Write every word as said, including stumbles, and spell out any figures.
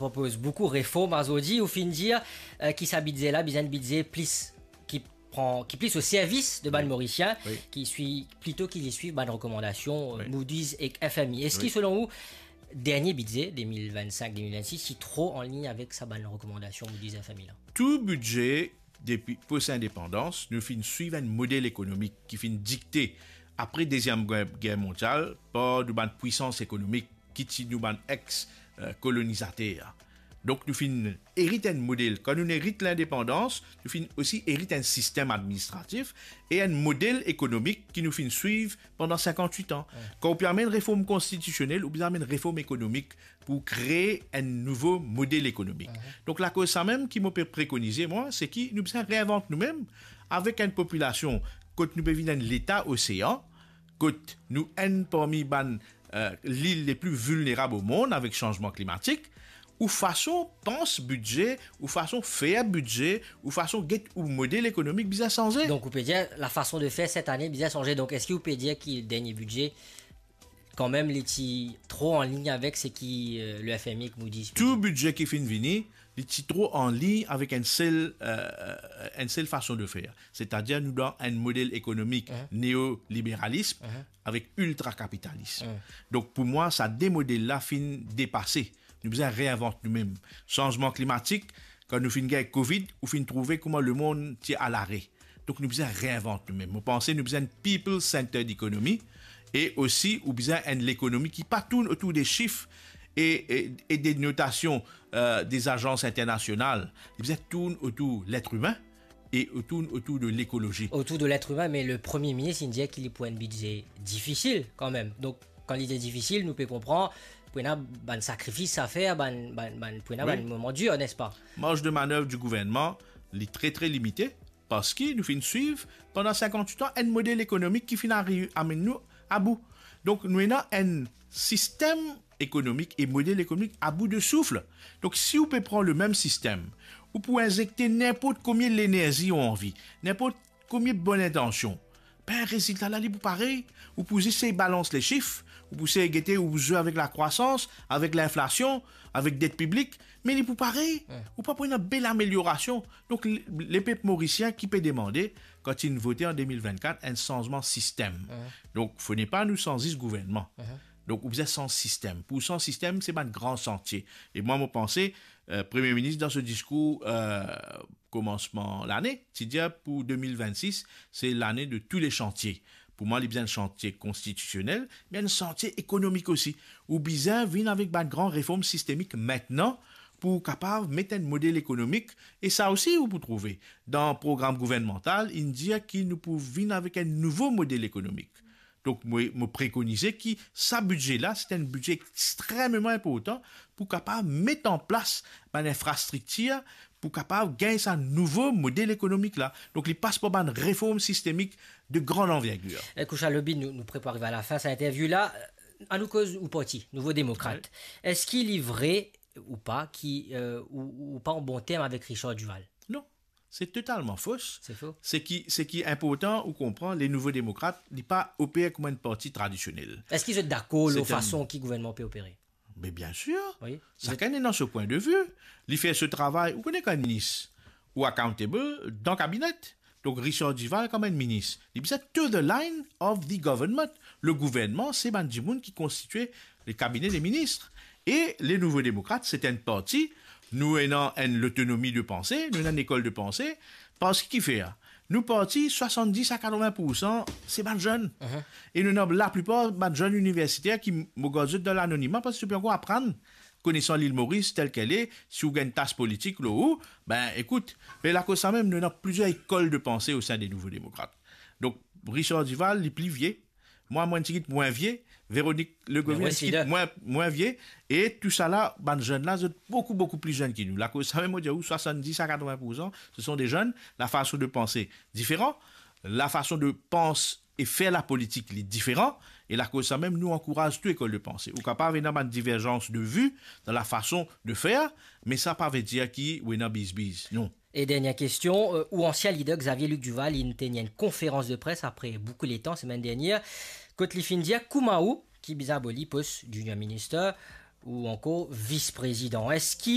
propoz boukou reform azordi, ou finn dir, eh, ki sa bidze la bizin enn bidze plis ki pran, ki plis o servis de bann Morisien, ki swiv, plito ki li swiv bann rekomandasion, eh, Moody's ek F M I. Eski, selon ou, dernie bidze de mil vinn-sink de mil vinn-sis ti tro anlign avek sa bann rekomandasion Moody's, F M I la? Tou bidze depi pos-indepandans, nou finn swiv enn model ekonomik ki finn dikte apre Deziem Ger, Ger Mondial par nou bann pwisans ekonomik ki ti nou bann ex, eh, kolonizater. Donk nou finn erit enn model. Kan nou erit lindepandans, nou finn osi erit enn sistem administratif e enn model ekonomik ki nou finn swiv pandan sinkant-wit an. Kan ou pe amenn reform konstitisionel, ou bizin amenn reform ekonomik pou kree enn nouvo model ekonomik. Donk lakoz samem ki mo pe prekonize, mwa, se ki nou bizin reinvant noumem avek enn popilasion kot nou pe vinn enn leta osean, kot nou enn parmi bann, eh, lil le pli vilnerab o mond avek sanzman klimatik, ou fason pans bidze, ou fason fer bidze, ou fason get ou model ekonomik bizin sanze. Donk ou pe dir lafason de fer set ane bizin sanze. Donk eski ou pe dir ki dernie bidze, kanmem, li ti tro anlign avek seki, eh, le F M I ek Moody's pe dir? Tou bidze ki finn vini, li ti tro anlign avek enn sel, eh, enn sel fason de fer. Setadir nou dan enn model ekonomik neoliberalism avek iltrakapitalism. Donk pou mwa, sa de model la finn depase. Nou bizin reinvant noumem. Sanzman klimatik, kan nou finn gagn Covid, ou finn trouve kouma lemond ti al are. Donk nou bizin reinvant noumem. Mo panse nou bizin enn people-centered economy e osi ou bizin enn lekonomi ki pa tourn otour de sif e, e, e de notasion, eh, de zazans internasional. Li bizin tourn otour letr imin e tourn otour de lekolozi. Otour de letr imin, me le Premie Minis inn dir ki li pou enn bidze difisil kanmem. Donk kan li dir difisil, nou pe konpran pou ena bann sakrifis a fer, bann, bann, bann, pou ena bann moman dir, nespa? Marz de manev di gouvernman, li tre, tre limite, parski nou finn swiv pandan sinkant-wit an enn model ekonomik ki finn ariv amenn nou abou. Donk nou ena enn sistem ekonomik e model ekonomik abou de souf. Donk si ou pe pran lemem sistem, ou pou inzekte ninport komie lenerzi ou anvi, ninport komie bonn intansion, be rezilta la li pou parey. Ou pou zis sey balans lesif, ou pou sey gete, ou pou zwe avek lakrwasans, avek linflasion, avek det piblik, me li pou parey. Ou pa pou ena bel ameliorasion. Donk le, lepep morisien ki pe demande, kan inn vote an de mil vinn-kat, enn sanzman sistem. Donk fode pa nou sanz zis gouvernman. Donk ou bizin sanz sistem. Pou sanz sistem, se bann gran santie. E mwa mo panse, eh, Premie Minis dan so diskour, eh, komansman lane, ti dir pou de mil vinn-sis, se lane de tou le santie. Pou mwa, li bizin santie konstitisionel, me enn santie ekonomik osi. Ou bizin vinn avek bann gran reform sistemik mintnan pou kapav met enn model ekonomik, e sa osi ou pou trouve dan program gouvernmantal, inn dir ki nou pou vinn avek enn nouvo model ekonomik. Donk mo, mo prekonize ki sa bidze la, se enn bidze extrememan inportan pou kapav met an plas bann infrastriktir pou kapav gagn sa nouvo model ekonomik la. Donk li pas par bann reform sistemik de gran anvergir. Eh, Koucha Lobi, nou, nou pre pou ariv a lafin sa interview la. Eh, anou koz ou parti, Nouvo Demokrat. Eski li vre ou pa ki, eh, ou, ou pa an bon term avek Richard Duval? Non, se totalman fo. Se fo. Seki, seki inportan ou konpran, le Nouvo Demokrat, li pa oper kouma enn parti tradisionel. Eski zot dakor lor fason ki gouvernman pe opere? Me biensir. Sakenn ena so pwin de vi. Li fer so travay. Ou kone kan enn minis, ou accountable dan kabinet. Donk Richard Duval kouma enn minis, li bizin to the line of the government. Le gouvernman, se bann dimoun ki konstitwe le kabine de minis. E le Nouvo Demokrat, se enn parti, nou ena enn lotonomi de panse, nou ena enn lekol de panse, parski kifer? Nou parti, swasanndis a katrovin poursan, se bann zenn. E nou ena laplipar bann zenn iniversiter ki, mo gard zot dan lanonima, parski zot pe ankor aprann konesan Lil Moris tel ke li, si ou gagn tas politik lor ou, be ekout, me lakoz samem, nou ena plizier lekol de panse o sein de Nouvo Demokrat. Donk Richard Duval, li pli vie. Mwa, mo enn tigit mwin vie. Véronique Legovier, enn tigit mwin, mwin vie. E tousala, bann zenn la, zot boukou, boukou pli zenn ki nou. Lakoz samem, mo dir ou, swasanndis a katrovin poursan, se son de zenn. Lafason de panse diferan. Lafason de panse e fer lapolitik, li diferan. E lakoz samem, nou ankouraz tou lekol de panse. Ou kapav ena bann diverzans de vi dan lafason de fer, me sa pa ve dir ki ou ena bizbiz. Non. E dernie kestion, eh, ou ansien lider Xavier Luc Duval, inn tenir enn konferans de pres apre boukou letan, semenn dernie, kot li finn dir kouma ou, ki bizin aboli pos Junior Minister, ou ankor vis-prezidan. Eski